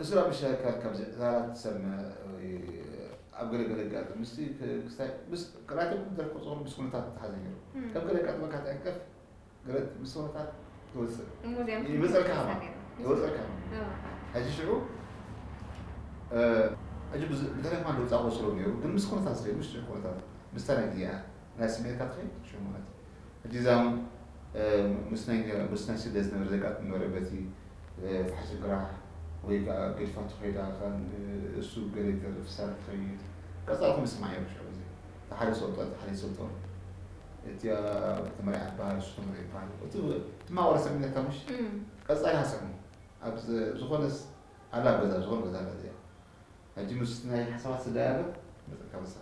እሱ ራብ ምሻካል ካብ ዕላላት ትሰምዕ ወይ ኣብ ገለ ገለ ኣጋጣሚ ምስቲ ክ- ክስታይ ምስ ክላተ ደርቆ ጾር ምስ ኩነታት ተሓዘ ነይሩ። ከም ገለ ኣጋጥመካ ትዕንቀፍ ገለ ምስ ኩነታት ትወፅእ እሞ እዚኦም ይመፀልካ ክምልሱ ከማ ነይሩ። ይወፀልካ ከማ ሕጂ ሽዑ ሕጂ ብተለይ ከማ ደውፃ ቆፅሮ ነይሩ ግን ምስ ኩነታት ስለ ምስ ኩነታት ምስታ ናይ ጊዜኣ ናይ ስሜትካ ትኸይድ ሽዑ ማለት እዩ። ሕጂ እዛ እውን ምስ ናይ ምስ ናይ ስደት ዝነበረ ዘጋጥም ነበረ በቲ ፋሕሲ ግራሕ ወይ ከዓ ገዲፋ ትኸይዳ እሱ ገለ ፍሳር ትኸይድ ቀፃልኩም ስማዕ እዮም ሽዑ እዚ ሓደ ሰውጦ ሓደ ሰውጦ እቲ ተመሪዓ ትበሃል እሱ ተመሪዓ ይበሃል እቲ ማወረ ሰሚነካ ምሽ ቀፃሊ ሃሰሙ ኣብ ዝኾነስ ኣላ ገዛ ዝኾነ ገዛ ኣላ እዚኣ ሕጂ ምስ ናይ ሓሳባት ስዳያበ መፀካ መሳ